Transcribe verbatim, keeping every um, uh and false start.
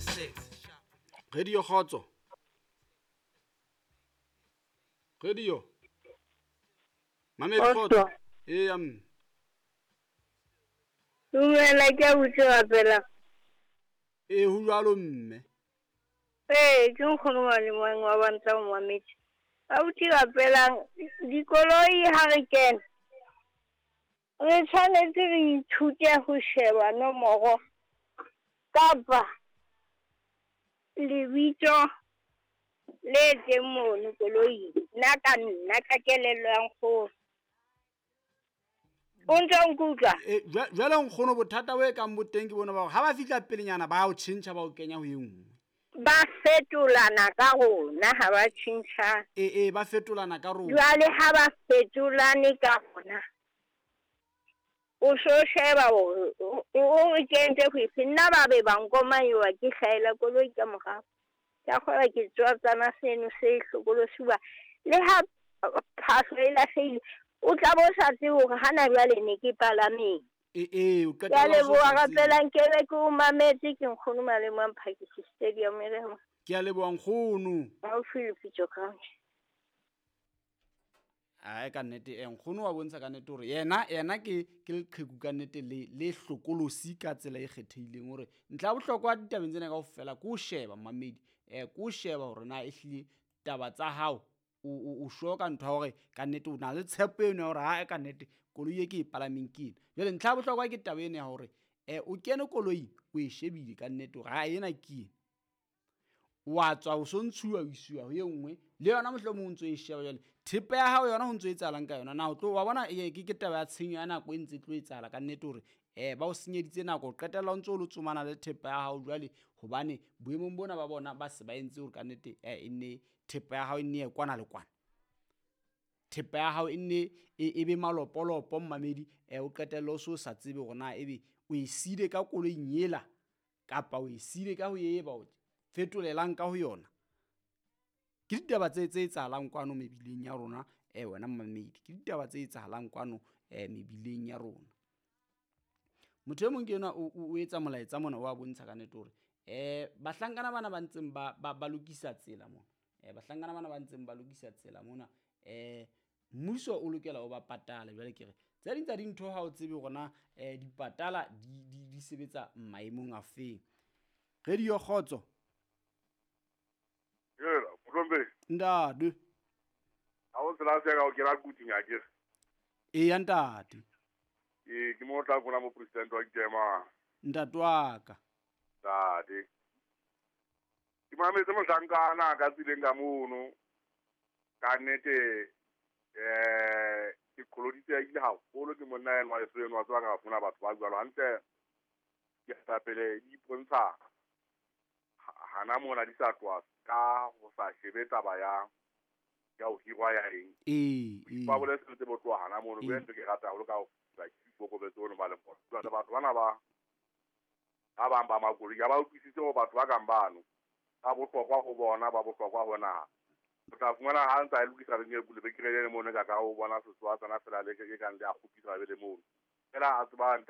six. Radio Kgotso. Radio. Mamedi Kgotso. Eh am. Dumela ke a botse fela. Eh ho jwalo mme. Eh ke nkgono wa le mong wa bantla mo mamedi. Abuti rapelang dikoloi ha re kena. Re tshwanetse re ithute ho sheba nomoro kapa lebitso le teng mono koloing. Nna ka nna ka kelello ya nkgono. O ntse o nkutlwa? Eh jwale nkgono bothata bo e kang bo teng ke bona ba hore ha ba fihla pelenyana ba o tjhentjha ba o kenya ho e nngwe. Ba fetolana ka rona ha ba tjhentjha. Eh eh ba fetolana ka rona. Jwale ha ba fetolane ka rona. O so sheba o o kentse ho ife nna ba be ba nkomayiwa ke hlaela koloi ka morao. Ka kgora ke tswa tsana seno se hlokolosi ba le ha phahlo e lahlehile o tla bo sa tsebe hore hana jwale ne ke palameng. Eh eh o Ke a qetella o so leboha sa tsebe. rapelang ke be ke o mametse ke nkgono Malemo a Mphakisi Stadium e re Ke a leboha nkgono. Haufi le Pitso Ground. Ai ka nnete eh nkgono wa bontsha ka nnete hore yena yena ke ke leqheku ka nnete le le hlokolosi ka tsela e kgethehileng hore ntlha ya bohlokwa ditabeng tsena kaofela ke ho sheba mamedi eh ke ho sheba hore na ehlile taba tsa hao o o o sure ka ntho ya hore ka nnete o na le tshepo eno ya hore ha ka nnete koloi e ke e palameng ke ena. Jwale ntlha ya bohlokwa ke taba ena ya hore eh o kene koloing o e shebile ka nnete hore ha ena ke ena. Wa tswa o so ntshuwa o isiwa ho e nngwe le yona mohlomong o ntso e sheba jwale thepa ya hao yona ho ntso etsahalang ka yona na o tlo wa bona e ke ke taba ya tshenyo ya nako e ntse e tlo etsahala ka nnete hore eh ba o senyeditse nako o qetella o ntso o lo tsomana le thepa ya hao jwale hobane boemong bona ba bona ba se ba entse hore ka nnete eh e nne thepa ya hao e nne ye kwana le kwana thepa ya hao e nne e e be malopolopo mmamedi eh o qetelle o so sa tsebe hore na ebe o e siile ka koloing ela kapa o e siile ka ho e ba o fetolelang ka ho yona. Ke ditaba tse tse etsahalang kwano mebileng ya rona eh wena mmamedi ke ditaba tse etsahalang kwano eh mebileng ya rona. Motho e mong ke enwa o o etsa molaetsa mona wa bontsha ka nnete hore eh bahlankana bana ba ntseng ba ba ba lokisa tsela mona eh bahlankana bana ba ntseng ba lokisa tsela mona eh mmuso o lokela o ba patale. Jwale ke re tse ding tsa dintho ha o tsebe hore na eh dipatala di di di sebetsa maemong a feng. Radio Kgotso. Yela, Motlombe. Ntate. Ha o tsela se ka o kena kuting akere. Eya ntate. Ee, ke mo tla bona mo president wa Kema. Ntate wa ka. Ntate. Ke mametse mohlankana ka tsileng ka mono. Ka nnete eh ke koloditse ile haholo ke monna enwa e seno wa tswa ka funa batho ba jwalo hantle. Ke tapele di ipontsha hana mona di sa tloha ka ho sa shebe taba ya ya ho hirwa ya eng. Ee, ee. Ba boletse tse bo tloha hana mono, Ee. ke ntho ke rata haholo ka ho ba ikokobetse ono ba le bona. Jwale batho bana ba ba bang ba makoloi ha ba utlwisise hore batho ba kang bano ba bohlokwa ho bona, ba bohlokwa ho naha. O tla fumana ha ntse a lokisa lebenkele le mono ka ka o bona setswatsana fela le ke kang le a kgupisa be le mono. Fela a tseba